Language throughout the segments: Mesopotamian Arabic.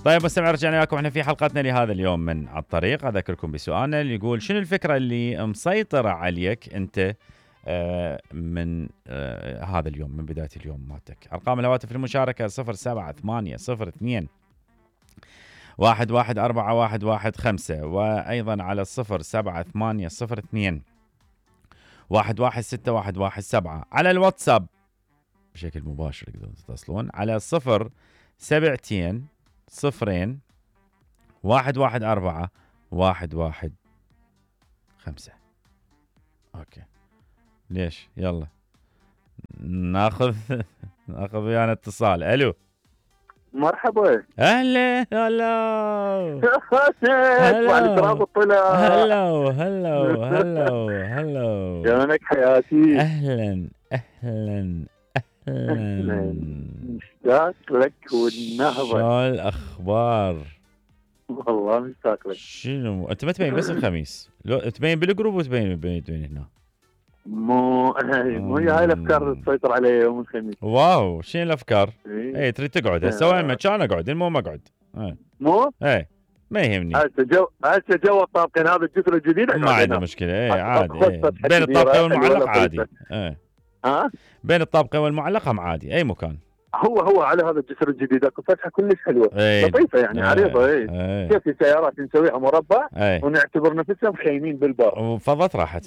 طيب مستمعين، رجعنا لكم احنا في حلقتنا لهذا اليوم من على الطريق. اذكركم بسؤالنا اللي يقول شنو الفكره اللي مسيطره عليك انت من هذا اليوم، من بدايه اليوم مالتك. ارقام الهواتف المشاركه 07802 114115، وايضا على 07802 116117 على الواتساب بشكل مباشر تقدرون تتصلون على 072 0 114 115. اوكي ليش؟ يلا ناخذ ويانا اتصال. الو مرحبا. اهلا هلا هلا شلونك حياتي؟ اهلا مشتاق لك والنهضة. شو الاخبار؟ والله مشتاق لك. شنو انت ما تبين بس الخميس؟ لو تبين بالجروب وتبين هنا. مو هاي الافكار تسيطر علي يوم الخميس. واو شنو الافكار؟ اي تريد تقعد هسه وين ما كان اقعد، المهم اقعد. مو اي ما يهمني. هسه جو الطابقين، هذا الجسر الجديد ما عندي مشكله. اي عادي. بين الطابقه والمعلق عادي. بين الطابقه والمعلق هم عادي اي مكان. هو على هذا الجسر الجديد اكو فتحه كلش حلوه لطيفه يعني عريضه. كيف في سيارات نسويها مربع ونعتبر نفسنا مخيمين بالبر وفضت راحت.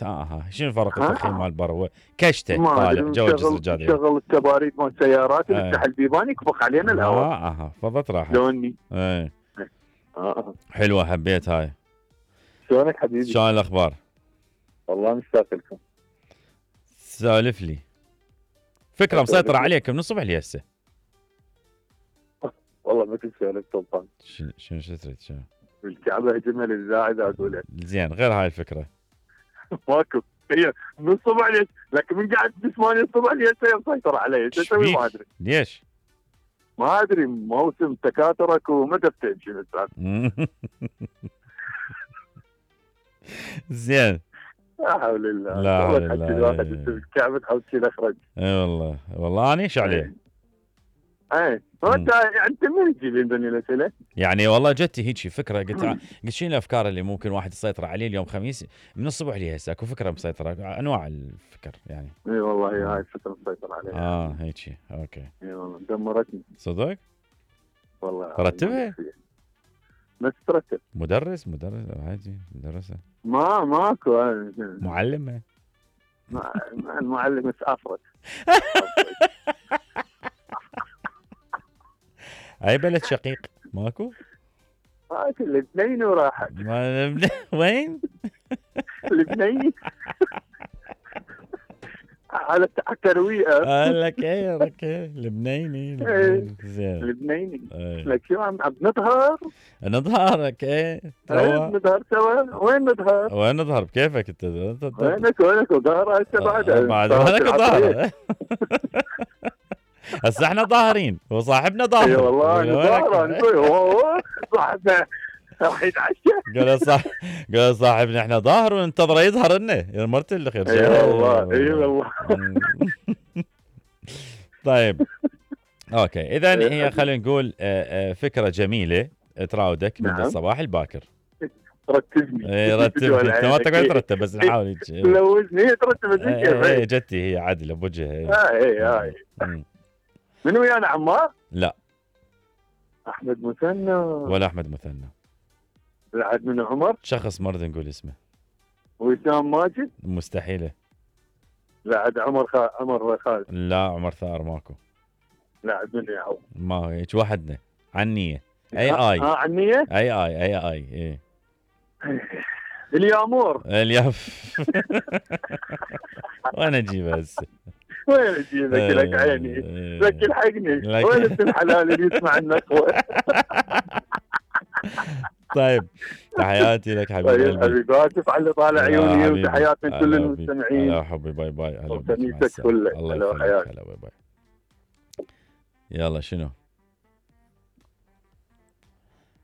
شنو فرق التخييم مال البر؟ هو كشته طالع جو الجسر الجديد. شغل التباريد مال السيارات نفتح البيبان يكبخ علينا الهواء. فضت راحت. لوني حلوه حبيت هاي. شلونك حبيبي؟ شلون الاخبار؟ والله مشتاق لكم. سالف لي فكره مسيطره عليك من الصبح لهسه. والله ما كنت سالك طبعا. شنو تريد؟ شنو؟ الكعبه جمل الزاعد اقول لك. زين غير هاي الفكره. ماكو. هي من الصبح لك من قاعد ب 8 الصبح لهسه مسيطره علي. ايش اسوي ما ادري. ليش؟ ما ادري، موسم تكاثرك وما تفتهم شنو صار. زين. لا حول الله. لا حول الله. الواحد الكعبه تحاول شيء اخرج. اي والله اني ايش عليه؟ انت من تجيبين ذني الاسئله؟ يعني والله جتي هيك فكره، قلت شنو الافكار اللي ممكن واحد يسيطر عليه اليوم خميس من الصبح لهسه. اكو فكره مسيطره، انواع الفكر يعني. اي والله هاي الفكره مسيطره عليها. هيك اوكي. اي والله دمرتني صدق؟ والله. ترتبها؟ بس ترتب. مدرس عادي مدرسه. ماكو. معلمه. المعلم سافرت. اي بلد شقيق ماكو؟ ماكو. الاثنين وراحت. وين؟ الاثنين. على الترويقه. قال لك ايه لبنيني. زين لبنيني. لك شو عم نظهرك ايه نظهر سوا. وين نظهر بكيفك انت وينك ظهر هسه بعد وينك ظهر. هسه احنا ظاهرين وصاحبنا ظاهر. اي والله ظاهر. صاحبنا راح يتعشى. قال صاحبنا احنا ظاهر وننتظره يظهر لنا. يا مرت اللي خير. اي والله. طيب اوكي اذا هي خلينا نقول فكره جميله تراودك من الصباح الباكر. رتبني. رتبني انت ما تقعد ترتب بس نحاول هيك. لوزني ترتب كيف. جتي هي عدله بوجهها. هاي من ويانا عمار؟ لا احمد مثنى ولا احمد مثنى. لا عاد من عمر. شخص ما نريد نقول اسمه. وسام ماجد؟ مستحيله. لا عاد عمر خالد. لا عمر ثار ماكو. لا عاد من يعو. ما هيك وحدنا عنيه. اي عنيه؟ اي ايه اليامور. وانا اجيبها هسه. وين اجيبك لك عيني. لك الحقني. وين ابن الحلال اللي يسمع النخوه. طيب تحياتي لك حبيبي. حبيبي اسف على اللي طالع عيوني وتحياتي لكل المستمعين. يا حبيبي باي باي. خميسك كله. الله يخليك. هلا باي باي. يلا شنو؟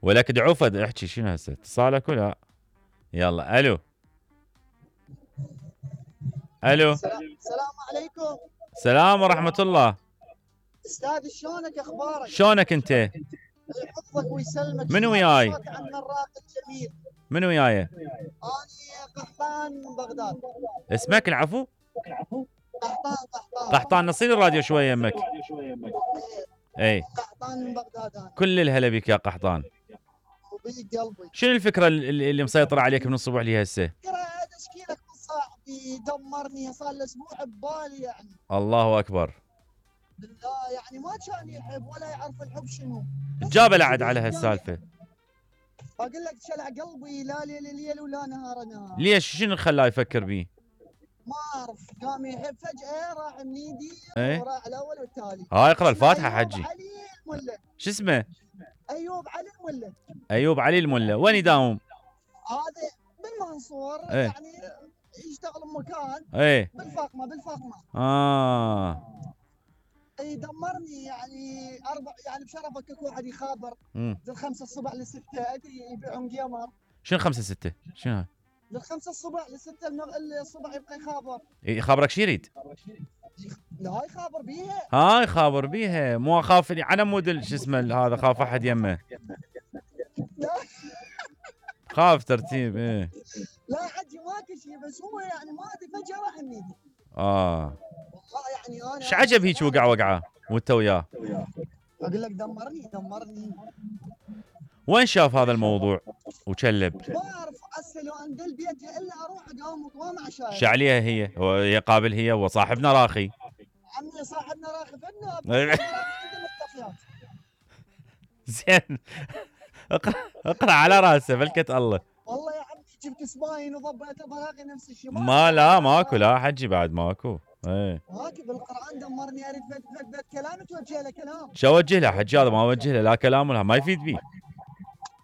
ولك دعوفه احكي شنو هسه اتصالك ولا؟ يلا الو. السلام عليكم. السلام ورحمه الله. استاذ شلونك اخبارك؟ شلونك انت؟ يحفظك ويسلمك. من وياي؟ عن الراقي الجميل. من وياي؟ اني قحطان بغداد. اسمك العفو؟ قحطان. نصير الراديو شويه يمك. اي قحطان من بغداد انا. كل الهلا بك يا قحطان. وبيك قلبي. شنو الفكره اللي مسيطره عليك من الصبح لي هسه؟ تشكيلك من صاحبي دمرني، صار له اسبوع ببالي يعني. الله اكبر. بالله يعني ما كان يحب ولا يعرف الحب شنو. جابه لعد على هالسالفه. اقول لك شلع قلبي، لا ليل ولا نهار. ليش؟ شنو خلاه يفكر بيه؟ ما اعرف، قام يحب فجأة راح من ايدي وراح الاول والتالي. هاي اقرا الفاتحة حجي. أيوب علي الملا. شو اسمه؟ ايوب علي الملا. ايوب علي الملا، وين يداوم؟ هذا بالمنصور يعني يشتغل بمكان بالفاطمة. اي دمرني يعني يعني بشرفك اكو واحد يخابر من 5 الصبح ل 6 ادري يبيعون جيمر. شنو 5 6؟ شنو؟ من 5 الصبح ل 6 الصبح يبقى يخابر. يخابرك شو يريد؟ لا يخابر بيها. مو اخاف على مود شو اسمه هذا، خاف احد يمه. خاف ترتيب. لا حجي ماكو شيء، بس هو يعني ما ادري فجأة راح من ايدي. والله يعني انا ايش عجب هيك وقعه وانت وياه؟ اقول لك دمرني. وين شاف هذا الموضوع وكلب؟ ما اعرف هسه لو اندل بيتها الا اروح اقاوم مع شايف. شو عليها هي قابل هي وصاحبنا راخي. عمي صاحبنا راخي فنه زين اقرا على راسه بلكة الله. والله يا عمي جبت سباين وضبيت البراغي نفس الشيء. ماكو لا حجي بعد ماكو. ماكو بالقران دمرني. اريد فد كلام توجه له كلام. شو اوجه له حجي؟ هذا ما اوجه له لا كلام ولا ما يفيد بيه.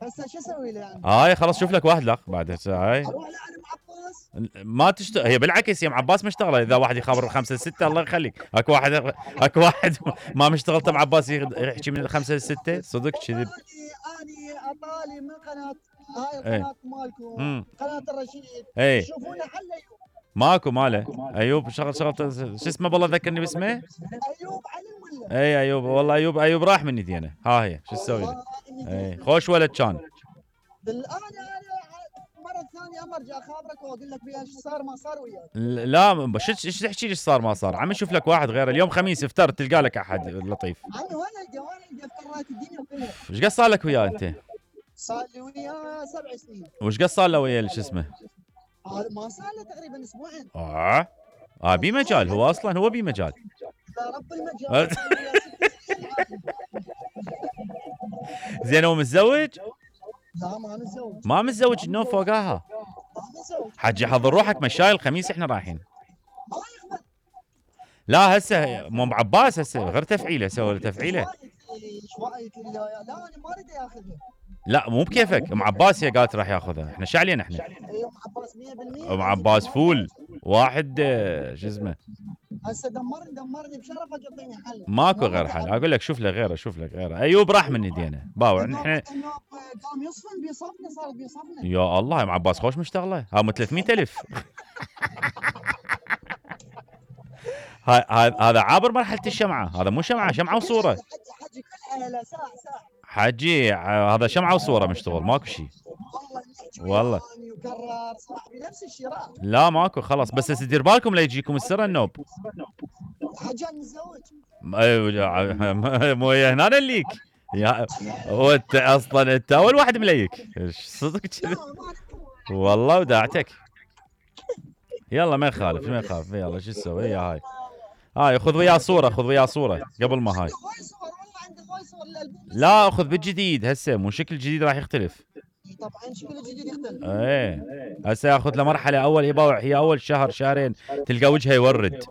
هسه شو اسوي له يعني؟ خلاص شوف لك واحد بعد هسه. اروح لعلم عباس. ما تشتغل هي بالعكس، يا ام عباس مشتغله. اذا واحد يخابر 5 6 الله يخليك. اكو واحد ما مشتغلته ام عباس يحكي من 5 ل 6 صدق كذب. اني اطالي من قناه هاي القناه مالكم قناه الرشيد. يشوفون حل ايوب. ماكو ماله ايوب شغل شو اسمه بالله ذكرني باسمه. ايوب علي الملا. ايوب والله ايوب راح من ايدي انا. هي شو تسوي له؟ خوش ولد كان. بالآن مرة ثانية ارجع اخابرك واقول لك بيها ايش صار ما صار وياك. لا ايش تحكي لي ايش صار ما صار؟ عم نشوف لك واحد غير. اليوم خميس افطر تلقى لك احد لطيف. عمي وين القى افتريت الدنيا كلها. ايش قد صار لك وياه انت؟ صار لي وياه 7 سنين. وش قد صار له وياه شو اسمه؟ هذا ما صار له تقريبا اسبوعين. بمجال هو اصلا هو بمجال. لا رب المجال. زين هو متزوج؟ لا ما متزوج انه فوقاها. حجي حضر روحك مشاي الخميس احنا رايحين. لا هسه مو عباس هسه غير تفعيله سوى تفعيله. ايش رايك؟ لا انا ما اريد ياخذها. لا مو بكيفك، ام عباس هي قالت راح ياخذها. احنا شو علينا احنا؟ ام عباس 100%. ام عباس فول واحد شو اسمه. هسه دمرني بشرفك يعطيني حل. ماكو غير حل. اقول لك شوف لك غيره. ايوب راح من ايدينا باوع. نحن قام يصفن بيصفنا. صار بيصفنا. يا الله يا ام عباس خوش مشتغله. ها 300,000. هذا عابر مرحله الشمعه. هذا مو شمعه وصوره. حجي كلها لا ساعه حجي هذا شمعه وصوره مشتغل ماكو شيء. والله يكرر صاحبي نفس الشيء راح. لا ماكو خلاص. بس دير بالكم لا يجيكم السر النوب. حجي متزوج. مو هنا الليك هو انت اصلا انت اول واحد مليك صدق كذا. والله وداعتك. يلا ما يخالف يلا شو تسوي يا هاي خذ وياه صوره قبل ما هاي. لا خذ بالجديد هسه مو شكل جديد راح يختلف. طبعا شكل الجديد يختلف. هسه ياخذ له مرحله اول يباوع. هي اول شهر شهرين تلقى وجهه يورد.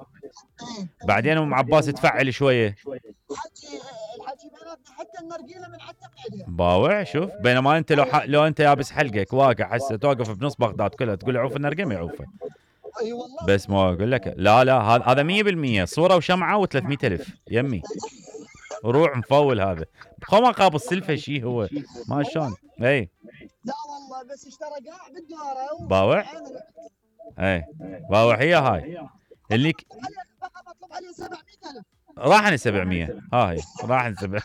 بعدين ام عباس تفعل شويه. الحكي بيناتنا حتى النرجيله من حتى بعدها باوع. شوف بينما انت لو انت يابس حلقك واقع هسه توقف بنص بغداد كلها تقول عوف النرجيله ما يعوفه. اي والله. بس ما اقول لك لا هذا 100% صوره وشمعه و300,000 يمي. روح مفول هذا ما قابل سلفه شيء هو ما شلون. لا والله بس اشترى قاع بالداره باوع. باوع هي هاي اللي مطلوب عليه 700,000. راح 700. هي راح 700.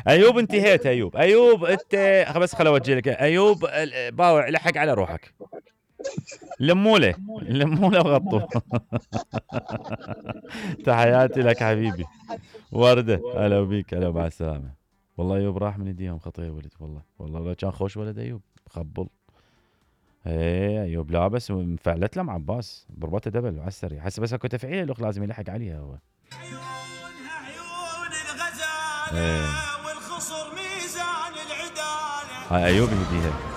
ايوب انتهيت. ايوب انت بس خل اوجه لك ايوب، باوع لحق على روحك، لموله وغطوه. تحياتي لك حبيبي وردة، هلا بيك، هلا مع السلامة. والله ايوب راح من ايديهم خطيه ولد، والله لو كان خوش ولد ايوب خبل. ايه ايوب لابس ومفعلت له مع عباس، ضربته دبل على السريع، هسه بس اكو تفعيله الاخ لازم يلحق عليها هو. عيون الغزاله والخصر ميزان العداله. هاي ايوب اللي فيها.